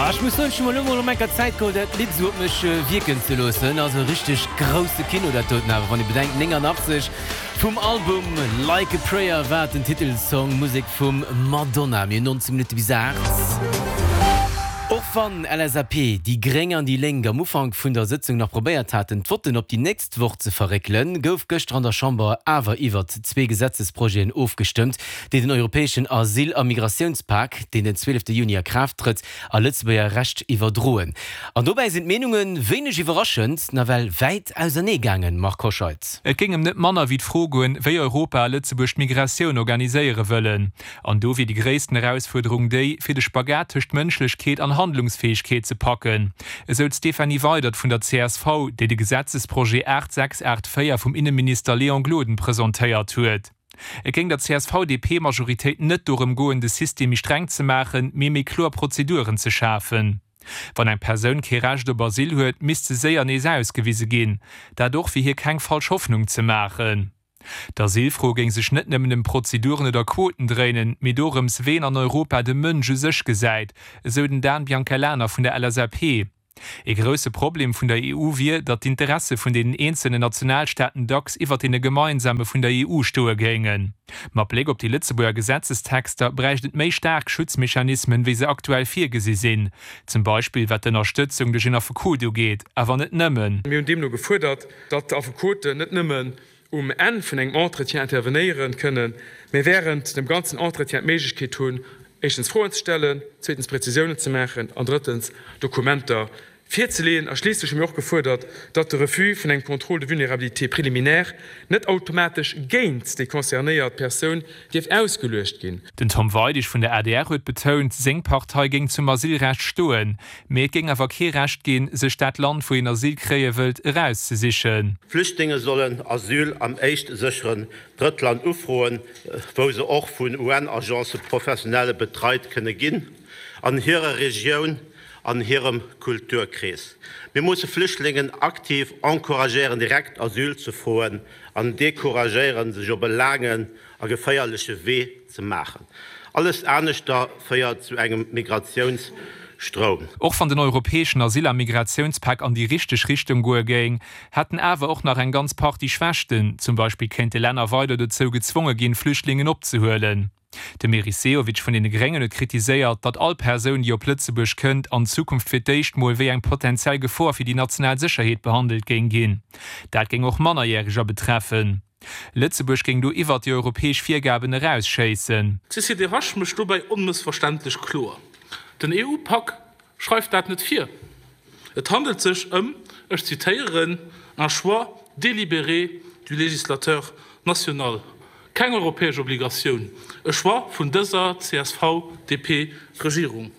Ah, ech muss soen, ech hu mer elo mol erëm enker Zäit geholl, dat Lidd esou op mech wierken ze loossen. Also richteg grousse Kino dat doten awer, wann ee bedenkt, 89 vum Album Like a Prayer war den Titelsong, Musek vum Madonna. Mir hunn 19 Minutte bis 8. Och wann LSAP, déi Gréng an déi Lénk am Ufank vun der Sëtzung nach probéiert haten, d'Votten op déi nächst Woch ze verréckelen, gouf gëschter an der Chamber awer iwwert zwee Gesetzesprojeten ofgestëmmt, déi den europäeschen Asyl a Migratiounspak, deen den 12 Juni a Kraaft trëtt, a Lëtzebuerger Recht iwwerdroen. An dobäi sinn d'Meenunge wéineg iwwerraschend nawell wäit ausernee gaangen, Marc Hoscheid. Et géing ëm net manner wéi d'Fro goen, wéi Europa a Lëtzebuerg d'Migratioun organiséiere wëllen. An do wier déi gréissten Erausfuerderung déi, fir de Spagat tëscht Mënschlechkeet an Handlungsfäegkeet ze packen, esou d'Stéphanie Weydert vun der csv, déi de Gesetzesprojet 8684 vum Inneminister Léon Gloden presentéiert huet. Et géing der CSV-DP-Majoritéit net dorëm goen, de System méi streng ze maachen, mee méi kloer Prozeduren ze schafen. Wann eng Persoun kee Recht op Asyl huet, misst se séier nees ausgewise ginn. Dat och, fir hir keng falsch Hoffnung ze maachen. D'Asylfro géing sech net nëmmen ëm Prozeduren oder Quoten dréinen, mee dorëms, wéi een an Europa de Mënsch u sech gesäit, esou den Dan Biancalana vun der LSAP. Ee grousse Problem vun der EU wier, datt d'Interesse vun deenen eenzelnen Nationalstaaten dacks iwwer deene gemeinsame vun der EU stoe géingen. Mat Bléck op déi Lëtzebuerger Gesetzestexter bräicht et méi staark Schutzmechanismen, wéi se aktuell virgesi sinn, zum Beispill wat d'Ënnerstëtzung duerch een Affekot ugeet, awer net nëmmen. Mir hunn deemno gefuerdert, datt d'Affekoten net nëmmen um Enn vun engem Entretien intervenéieren kënnen, mä während dem ganzen Entretien d'Méiglechkeet hunn, éischtens Froen ze stellen, zweetens Präzisiounen ze maachen an drëttens Dokumenter virzeleeën. A schliisslech hu mir och gefuerdert, datt de Refus vun engem Contrôle de vulnérabilité préliminaire net automatesch géint déi concernéiert Persoun dierf ausgeluecht ginn. Den Tom Weidig vun der adr huet betount, seng Partei géing zum Asylrecht stoen. Mee et géing awer kee Recht ginn, sech dat Land, wou een Asyl kréie wëllt, erauszesichen. Flüchtlinge sollen Asyl am éischt sécheren Drëttland ufroen, wou se och vun UN-Agencë professionelle betreit kënne ginn, an hirer Regioun, an hirem Kulturkrees. Mir musse Flüchtlingen aktiv encouragéieren, direkt Asyl ze froen an decouragéieren, sech op e laangen a geféierleche Wee ze maachen. Alles aneschter féiert zu engem Migratiounsstroum. Och wann den europäeschen Asyl a Migratiounspak an déi richteg Richtung goe géing, hätt en awer och nach eng ganz Partie Schwächten. Zum Beispill kéinte Länner weider dozou gezwonge ginn, Flüchtlingen opzehuelen. De Meris Sehovic vun deene Gréngen huet kritiséiert, datt all Persoun, déi op Lëtzebuerg kënnt, an Zukunft fir d'éischt mol wéi eng potenziell Gefor fir déi national Sécherheet behandelt géing ginn. Dat géing och Mannerjäreger betreffen. Lëtzebuerg géing do iwwert déi europäesch Virgaben erausschéissen. D'CCDH mécht dobäi onmëssverständlech kloer, Den EU-Pak schreift dat net vir. Et handelt sech ëm, ech zitéieren, un choix délibéré du législateur national. Keng europäesch Obligatioun, e Choix vun dëser CSV-DP-Regierung.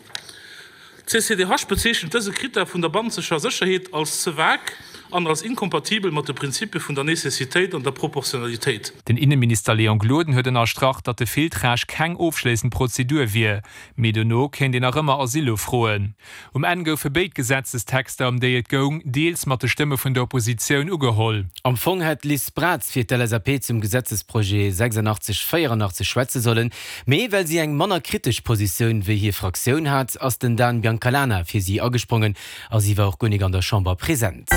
D'CCDH bezeechent dëse Krittär vun der bannenzeger Sécherheet als ze vague an als inkompatibel mat de Prinzipie vun der Necessitéit an der Proportionalitéit. Den Inneminister Léon Gloden huet ënnerstrach, datt de Filtrage keng ofschléissend Prozedur wier, mee dono kéint een nach ëmmer Asyl ufroen. Um Enn goufe béid Gesetzestexter, ëm déi et goung, deels mat de Stëmme vun der Oppositioun ugeholl. Am Fong hätt d'Liz Braz fir d'LSAP zum Gesetzesprojet 86 84 schwätze sollen, Mee well si eng manner kritesch Positioun wéi hir Fraktioun hat, ass den Dan Biancalana fir si agesprongen a si war och guer nik an der Chamber present.